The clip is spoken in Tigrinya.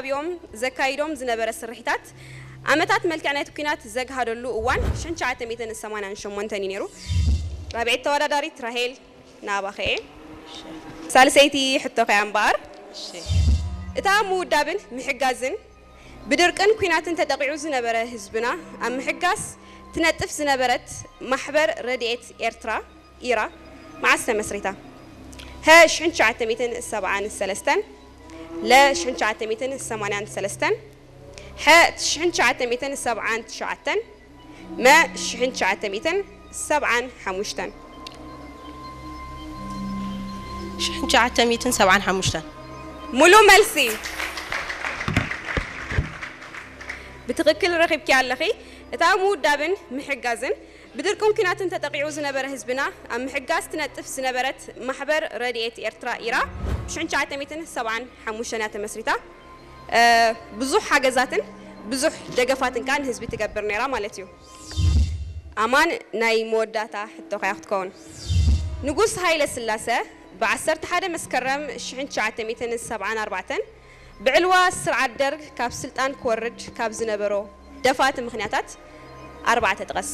እዮም ዘካይዶም ዝነበረ ስርሒታት፣ ዓመታት መልክዕ ናይቲ ኲናት ዘግሃደሉ እዋን ሽሕን ትሽዓተ ሚእትን ሰማንያን ሸሞንተን እዩ ነይሩ። ራብዐይቲ ተወዳዳሪት ራሄል፣ ናባኸ እየ። ሳልሰይቲ ሕቶኸ እያ እምበኣር። እታ ምውዳብን ምሕጋዝን ብድርቅን ኲናትን ተጠቒዑ ዝነበረ ህዝብና ኣብ ምሕጋዝ ትነጥፍ ዝነበረት ማሕበር ረድኤት ኤርትራ፣ ኢራ፣ መዓስ ተመስሪታ? ሀ፣ ሽሕን ትሽዓተ ሚእትን ሰብዓን ሰለስተን፣ ለ፣ ሽሕን ትሽዓተ ሚእትን ሰማንያን ሰለስተን፣ ሐ፣ ሽሕን ትሽዓተ ሚእትን ሰብዓን ትሽዓተን፣ መ፣ ሽሕን ትሽዓተ ሚእትን ሰብዓን ሓሙሽተን። ሽሕን ትሽዓተ ሚእትን ሰብዓን ሓሙሽተን። ሙሉ መልሲ። ብትኽክል ረኺብኪ ኣለኺ። እታ ምውዳብን ምሕጋዝን ብድርቅን ኲናትን ተጠቒዑ ዝነበረ ህዝብና ኣብ ምሕጋዝ ትነጥፍ ዝነበረት ማሕበር ረድኤት ኤርትራ፣ ኢራ፣ ሽሕን ትሽዓተ ሚእትን ሰብዓን ሓሙሽተን እያ ተመስሪታ። እ፣ ብዙሕ ሓገዛትን ብዙሕ ደገፋትን ከኣ ንህዝቢ ትገብር ነይራ ማለት እዩ። ኣማን፣ ናይ መወዳእታ ሕቶኻ እያ ክትከውን። ንጉስ ሃይለ ስላሰ ብ ዓሰርተ ሓደ መስከረም ሽሕን ትሽዓተ ሚእትን ሰብዓን ኣርባዕተን ብዕልዋ ስርዓት ደርግ ካብ ስልጣን ክወርድ ካብ ዝነበሮ ደፋእቲ ምኽንያታት ኣርባዕተ ጥቀስ።